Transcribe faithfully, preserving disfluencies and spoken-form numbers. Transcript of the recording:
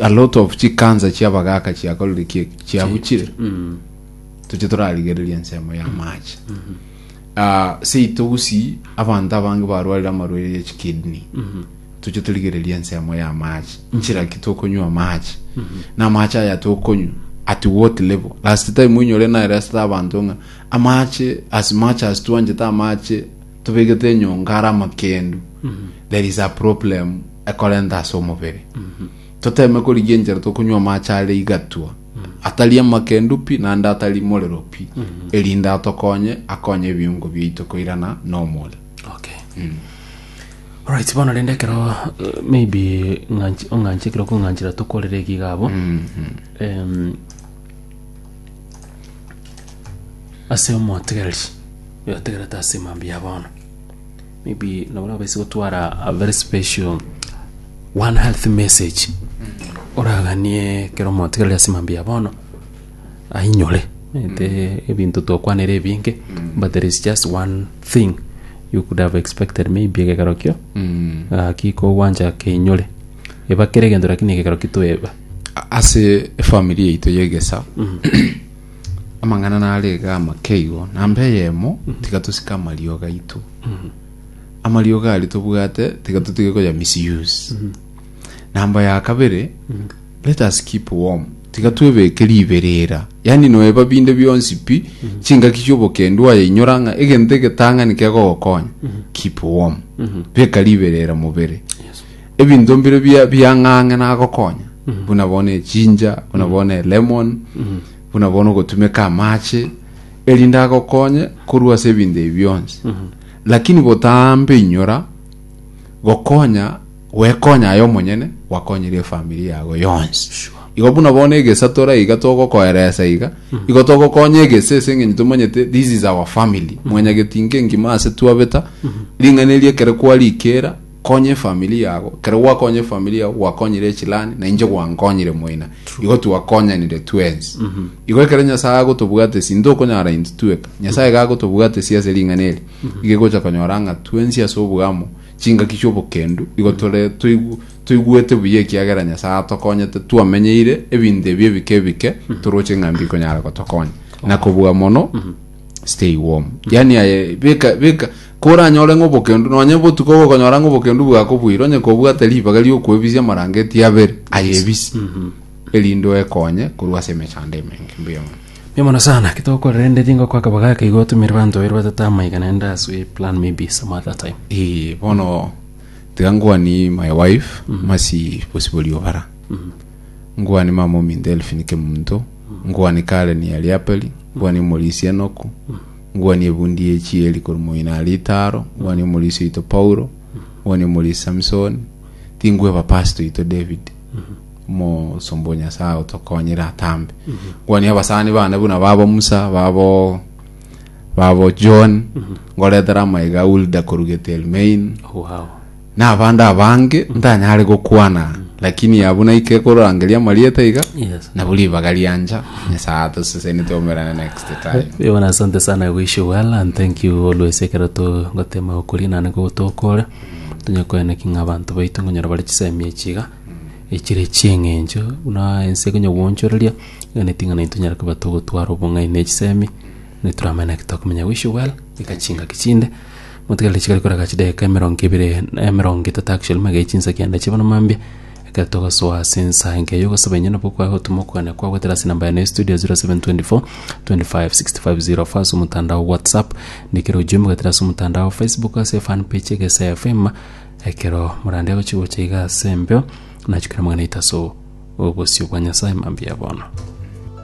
A lot of chikansa chiabagaka chiakorire ki chiabuchire. Toche torarigereria ensemo ya amache. Ah, seito Gusii abanto abange barwarire amarwaire ya chikidney. Toche torigereria ensemo ya amache. Nchera ki tokonywa amache? Na amache aya tokonywa at what level? Last time oinyore naeresete abanto ng'a amache, as much as twanchete amache tobegete enyongo are amakendu, there is a problem ekorenta ase omobere. Toteme korigia enchera tokonywa amache are igatwa, atari amakendu pi naende atari morero pi, erinde atokonye, akonye ebiungo biaito koirana normal. Okay. Alright, bono rende ekero eh, maybe ng'anchi ong'anchi ekero kong'anchera tokorere egiga abo. Em, ase omotegereri oyotegerete ase mambia ya bono, maybe nabo nabaise gotwara a very special one health message oraganie ekero omotegereri ase mambia ya bono ainyore ete ebinto twakwanera ebinge, but there is just one thing you could have expected maybe egekero kio gaki kogwancha keinyore eba kere egento, lakini egekero kitoeba. Ase efamily yaito yegesa amang'ana nare iga amake igo. Namba eyemo, tiga tosike amariogo aito. Amariogo aria tobwate, tiga totige koya misuse. Namba ya kabere, let us keep warm. Tiga twebeke riberera, yani noeba binde bionsi pi chingaki chiobokendu aye inyora ng'a egento egetang'ani kegogokonya, keep warm, beka riberera mobere. Ebinto mbire bia biang'ang'e nagokonya, buna bono echinja, buna bono elemon, buna bono gotumeka amache, erinde agokonye korwa ase ebinto ebi bionsi. Lakini botambe inyora gokonya gwekonya aye omonyene, gwakonyire efamiri yago yonsi. Igo buna bono egesa tora iga togokoeresa iga, igo togokonya egesa ase eng'encho tomanyete this is our family. Mwanyagetinga engima ase twabeta ring'ana eri, ekere kwarikera konya efamiri yago, ekero gwakonya efamiri yago gwakonyire echilani, na inche gwankonyire moina, igo twakonyanire twensi. Igo ekero Nyasaye agotobwate ntokonyara intwe tweka, Nyasaye gagotobwate si ase ring'ana eri, igo egocha konyora ng'a twensi ase obwamo chingaki chiobokendu igo tore toigu toigwete buya, ekiagera Nyasaye atokonyete twamenyeire ebinto ebi ebike ebike toroche ng'a mbikonyara gotokonya. Na kobua mono, stay warm, yani aye beka beka koranyore ng'a obokendu nonye botuko gokonyora ng'a obokendu bwakobwire, onye kobwate ribaga riokwebisia amarangeti abere aye ebisi, erinde oekonye korwa ase emechando emenge. Mbuya mono. Mbuya mono sana. Kitokorera ende tingo kwa kabagaka igo tumire bantu babere batatu amaiga naende as we plan maybe some other time. Eh, bono tiga ngwani my wife Masi Bosibori Obara, ngwani mama ominto Elfin Kemunto, ngwani Karen Yariapeli, ngwani omorisi Enoku, ngwani ebundi yechieri korwa moina Aritaro, ngwani omorisi oito Paulo, ngwani omorisi Samson, tingweba pastor oito David omosomba o Nyasaye otokonyire atambe, ngwani abasani bane buna babo Musa, babo babo John, ngoretera amaiga Ulda korugete Elmain Wow. Na abande abange ntanyare gokwana, lakini abu naike korangeria amarieta iga. Yes. Nabo ribaga rianja Nyasaye atoseseni, tomerane next time. Bwana, asante sana. Wish you well and thank you always. Ekero togotema gokori nane gotokore tunya koene ng'a abanto baitu ngonyora bare chisemi echiga echire chieng'encho buna ense konya gwonchoreria igane ting'ana intonyara koba togotwara obong'aini na echisemi nituramanya naki tokomenya. Wish you well. Ikachingaki chinde motigarire chikari koraga chidakika emerongo ebere na emerongo etato, actually magei chinsa kianda chibono mambia ekero togosoa ase ensa enke yogosaba inye nabo kwa gotuma okogania kwa gwetera ase namba yane studio zero seven two four twenty-five sixty-five zero four ase omotandao WhatsApp, ndikera ujumbe gwetera ase omotandao Facebook ase fan page Egesa F M. Ekero morande agochigocha iga ase embeo nachukira magana itaso obosio bwa Nyasaye mambia bono.